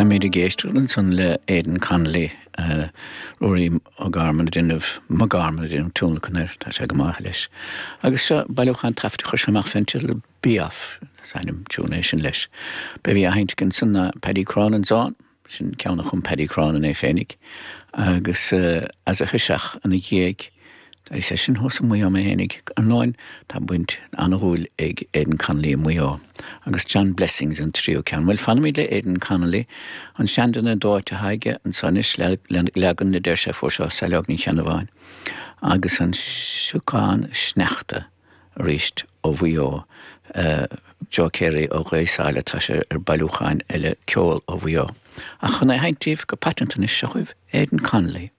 Táimid ag éisteacht ansan le Aidan Connolly, Ruairí Ó Gorman ag déanamh, Mac Gorman ag déanamh tionlacan air, tá sé go maith leis. Agus seo bailiúchán taifid a chuir sé amach fén teideal Be Off, is ainm tiúin é sin leis. B'é a bhí á sheinnt againn ansan ná Paddy Cronin's Own. Sin ceann a chum Paddy Cronin é féinig agus as a thoiseach ina dhiaidh. D'éirigh sé sin thuas i Maigh Eo mé fhéinig. Ar ndóin tá baint an-dhúil ag Aidan Connolly i Maigh Eo. Agus John Blessings an tríú ceann. Bhuel, fanfaimid le Aidan Connolly. An Seanduine Dóite atá aige anso anois, leagan a deir sé fuair sé ó Saileog Ní Cheannabháin. Agus an Siocán Sneachta. arís ó Mhaigh Eo, Joe Carey ó Ghaoth Sáile, tá sé ar bailiúcháin eile ceol ó Mhaigh Eo. Ach chun é a sheinnt daoibh go paiteanta anois, seo chugaibh Aidan Connolly.